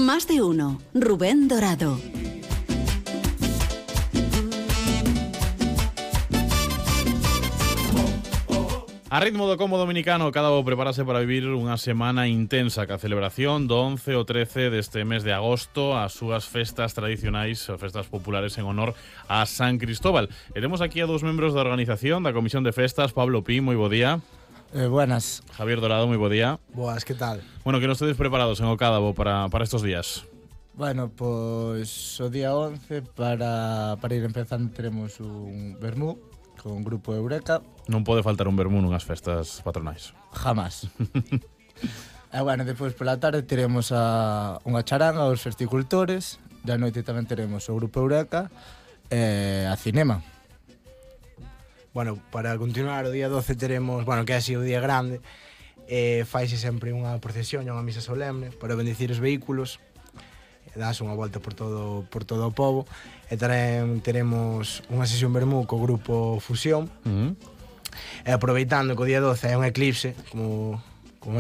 Más de uno. Rubén Dorado. A ritmo do combo dominicano, cada o prepárase para vivir unha semana intensa ca celebración do 11 ao 13 deste mes de agosto, as súas festas tradicionais, as festas populares en honor a San Cristóbal. E temos aquí a dous membros da organización da Comisión de Festas, Pablo Pi, moi bo día. Buenas. Javier Dorado, moi bo día. Boas, que tal? Bueno, que non estedes preparados en o Cádabo para estes días? Bueno, pois o día 11 para ir empezando teremos un vermú con grupo Eureka. Non pode faltar un vermú nunhas festas patronais. Jamás. E bueno, depois pola tarde teremos unha charanga aos festicultores. Da noite tamén teremos o grupo Eureka e a cinema. Bueno, para continuar o día 12 teremos, bueno, que é así o día grande, faise sempre unha procesión e unha misa solemne para bendecir os vehículos, das unha volta por todo o pobo, e tamén teremos unha sesión vermú co grupo Fusión, e aproveitando que o día 12 é un eclipse, como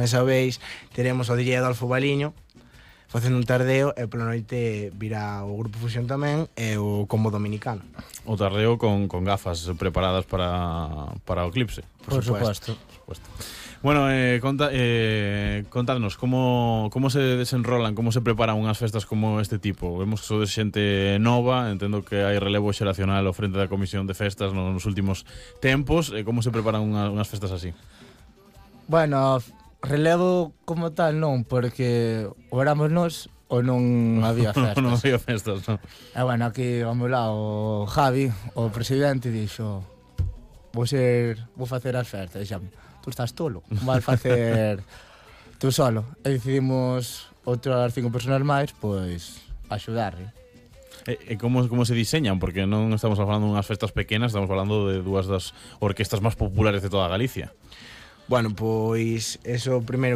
sabeis, teremos o DJ Adolfo Baliño facendo un tardeo, e pola noite virá o grupo Fusión tamén e o combo dominicano. O tardeo con gafas preparadas para o eclipse. Por supuesto. Bueno, contadnos como se desenrolan, como se preparan unhas festas como este tipo. Vemos que sodes xente nova, entendo que hai relevo xeracional ao frente da Comisión de Festas nos últimos tempos. Como se preparan unhas festas así? Bueno, relevo como tal non, porque ou éramos nós ou non había festas. Non había festas, non? E bueno, aquí ao meu lado o Javi, o presidente, dixo: vou facer as festas. E dixame: tú estás tolo, vas facer tú solo. E decidimos outras 5 personas máis, pois, axudarle. E como se diseñan? Porque non estamos falando de unhas festas pequenas, estamos falando de dúas das orquestas máis populares de toda Galicia. Bueno, pois, eso primeiro